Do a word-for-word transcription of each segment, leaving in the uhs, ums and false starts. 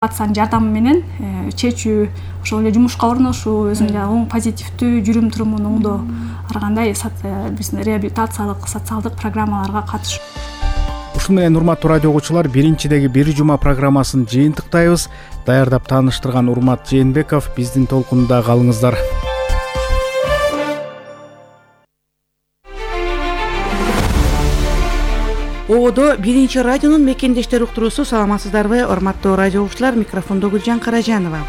Аттын жардамы менен чечүү, ошол эле жумушка орношуу, өзүнүн оң позитивдүү жүрүм турумун оңдоо ар кандай биздин реабилитациялык, социалдык программаларга катышуу. Ушун менен урматтуу радио угуучулар, биринчидеги бир жума программасын жыйынтыктайбыз. Даярдап тааныштырган Урмат Жээнбеков, биздин толкунда калыңыздар. Оодо биринчи радионун мекендештер уктуруусу. Саламатсыздарбы, урматтуу радио угуучулар? Микрофондо Гүлжан Каражанова.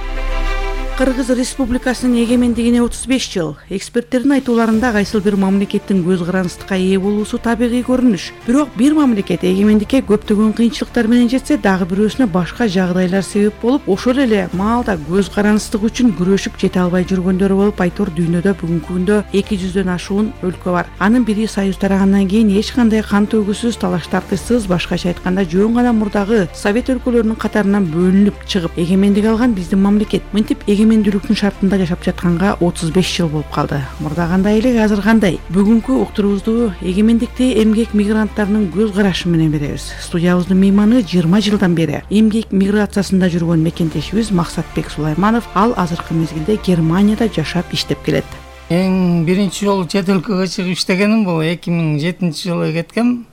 Кыргыз Республикасынын эгемендигине отуз беш жыл. Эксперттердин айтууларында кайсыл бир мамлекеттин көз карандысыкка ээ болуусу табигый көрүнүш. Бирок бир мамлекет эгемендикке көптөгөн кыйынчылыктар менен жетсе, дагы бирөөсүнө башка жагдайлар себеп болуп, ошол эле маалда көз карандысыздык үчүн күрөшүп жете албай жүргөндөр болуп, айтор дүйнөдө бүгүнкү күндө эки жүздөн ашуун өлкө бар. Анын бири Союз тарагандан кийин эч кандай кан төгүүсүз, талаш тартышсыз, башкача айтканда жөн гана мурдагы Совет өлкөлөрүнүн катарынан бөлүнүп чыгып, эгемендик алган биздин мамлекет. Мынтип эгемендүүлүктүн шартында жашап жатканга отуз беш жыл болуп калды. Мурда кандай эле, азыр кандай? Бүгүнкү уктуруубузду эгемендикти эмгек мигранттарынын көз карашы менен беребиз. Студиябыздын мейманы жыйырма жылдан бери эмгек миграциясында жүргөн мекендешибиз Максатбек Сулайманов. Ал азыркы мезгилде Германияда жашап иштеп келет. Эң биринчи жолу чет өлкөгө чыгып иштегеним бул эки миң жетинчи жылы кеткем.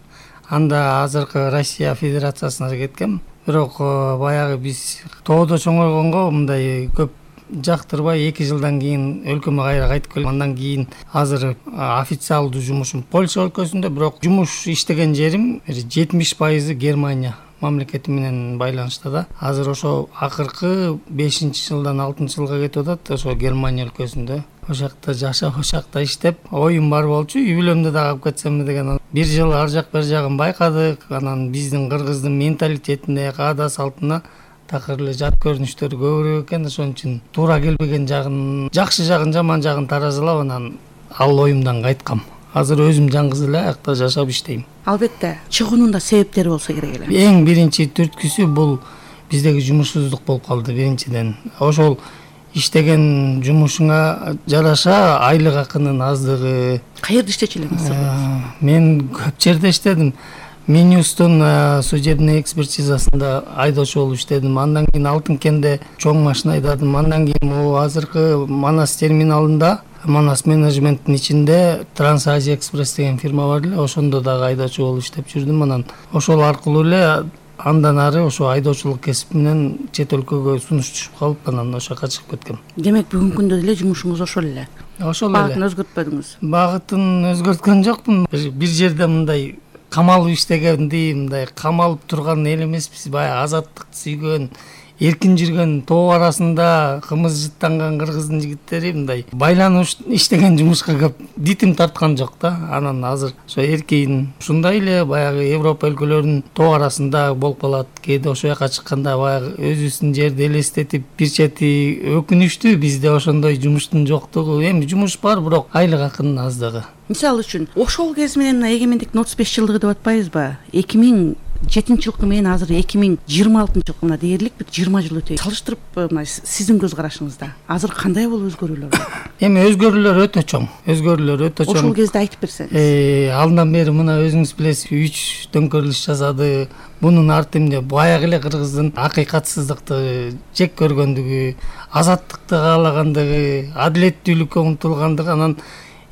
Анда азыркы Россия Федерациясына кеткем. Бирок баягы биз тоодо чоңойгонго мындай көп жактырбай эки жылдан кийин өлкөмө кайра кайтып келдим. Андан кийин азыр официалдуу жумушум Польша өлкөсүндө, бирок жумуш иштеген жерим жетимиш пайызы Германия мамлекети менен байланышта да. Азыр ошо акыркы бешинчи жылдан алтынчы жылга кетип атат, ошо Германия өлкөсүндө. Ошол жакта жашап, ошол жакта иштеп, оюм бар болчу, үй бүлөмдү да алып кетсемби деген. Бир жыл ар жак бер жагын байкадык. Анан биздин кыргыздын менталитетине, каада салтына такыр эле жат көрүнүштөр көбүрөөк экен. Ошон үчүн туура келбеген жагын, жакшы жагын, жаман жагын таразылап, анан ал оюмдан кайткам. Азыр өзүм жалгыз эле аякта жашап иштейм. Албетте, чыгуунун да себептери болсо керек эле. Эң биринчи түрткүсү бул биздеги жумушсуздук болуп калды биринчиден. Ошол иштеген жумушуңа жараша айлык акынын аздыгы. Каерде иштечү элеңиз? Мен көп жерде иштедим. Минюстун судебный экспертизасында айдоочу болуп иштедим. Андан кийин Алтынкенде чоң машина айдадым. Андан кийин могу азыркы Манас терминалында, Манас менеджменттин ичинде Трансазия экспресс деген фирма бар эле, ошондо дагы айдоочу болуп иштеп жүрдүм. Анан ошол аркылуу эле андан ары ошо айдоочулук кесип менен чет өлкөгө сунуш түшүп калып, анан ошол жака чыгып кеткем. Демек бүгүнкү күндө деле жумушуңуз ошол эле? Ошол эле. Багытын өзгөртпөдүңүз? Багытын өзгөрткөн жокмун. Бир жерде мындай камалып иштегенди, мындай камалып турган эл эмеспиз. Баягы азаттыкты сүйгөн, эркин жүргөн, тоо арасында кымыз жыттанган кыргыздын жигиттери мындай байланып иштеген жумушка көп дитим тарткан жок да. Анан азыр ошо эркин ушундай эле баягы Европа өлкөлөрүнүн тоо арасында болуп калат. Кээде ошол жака чыкканда баягы өзүбүздүн жерди элестетип, бир чети өкүнүчтүү бизде ошондой жумуштун жоктугу. Эми жумуш бар, бирок айлык акынын аздыгы. Мисалы үчүн, ошол кез менен эгемендиктин отуз беш жылдыгы деп атпайбызбы? эки миң жетинчи жылкы менен азыр эки миң жыйырма алтынчы жылкы мына дээрлик бир жыйырма жыл өтөй. Салыштырып, мына сиздин көз карашыңызда азыр кандай болуп өзгөрүүлөр бар? Эми өзгөрүүлөр өтө чоң. Өзгөрүүлөр өтө чоң. Ошол кезде айтып берсеңиз. Э, алдан бери мына өзүңүз билесиз, үч төңкөрүлүш жасады. Бунун арты эмне? Баягы эле кыргыздын акыйкатсыздыкты жек көргөндүгү, азаттыкты каалагандыгы, адилеттүүлүккө умтулгандыгы. Анан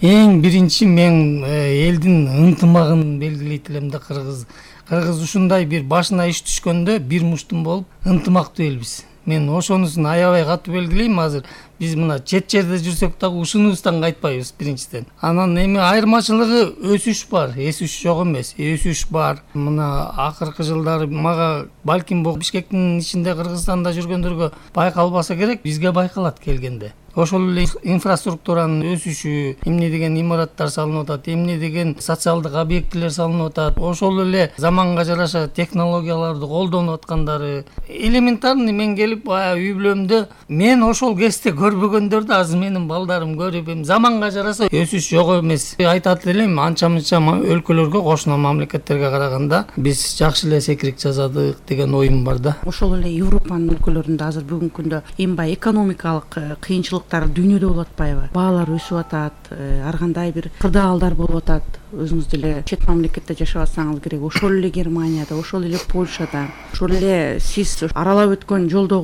эң биринчи мен элдин ынтымагын белгилейт элем да. Кыргыз Кыргыз ушундай бир башына иш түшкөндө бир муштум болуп ынтымактуу элбиз. Мен ошонусун аябай катуу белгилейм. Азыр биз мына чет жерде жүрсөк дагы ушунубуздан кайтпайбыз биринчиден. Анан эми айырмачылыгы өсүш бар, эсүш жок эмес, өсүш бар. Мына акыркы жылдары мага балким бул Бишкектин ичинде Кыргызстанда жүргөндөргө байкалбаса керек, бизге байкалат келгенде. Ошол эле инфраструктуранын өсүшү, эмне деген имараттар салынып атат, эмне деген социалдык объектилер салынып атат, ошол эле заманга жараша технологияларды колдонуп аткандары элементарный. Мен келип баягы үй бүлөмдө мен ошол кезде көрбөгөндөрдү азыр менин балдарым көрүп, эми заманга жараса өсүш жок эмес. Айтат элем, анча-мынча өлкөлөргө, кошуна мамлекеттерге караганда биз жакшы эле секирик жасадык деген оюм бар да. Ошол эле Европанын өлкөлөрүндө азыр бүгүнкү күндө эми баягы экономикалык кыйынчылык кыйынчылыктар дүйнөдө болуп атпайбы? Баалар өсүп атат, ар кандай бир кырдаалдар болуп атат. Өзүңүз деле чет мамлекетте жашап атсаңыз керек, ошол эле Германияда, ошол эле Польшада, ошол эле сиз аралап өткөн жолдогу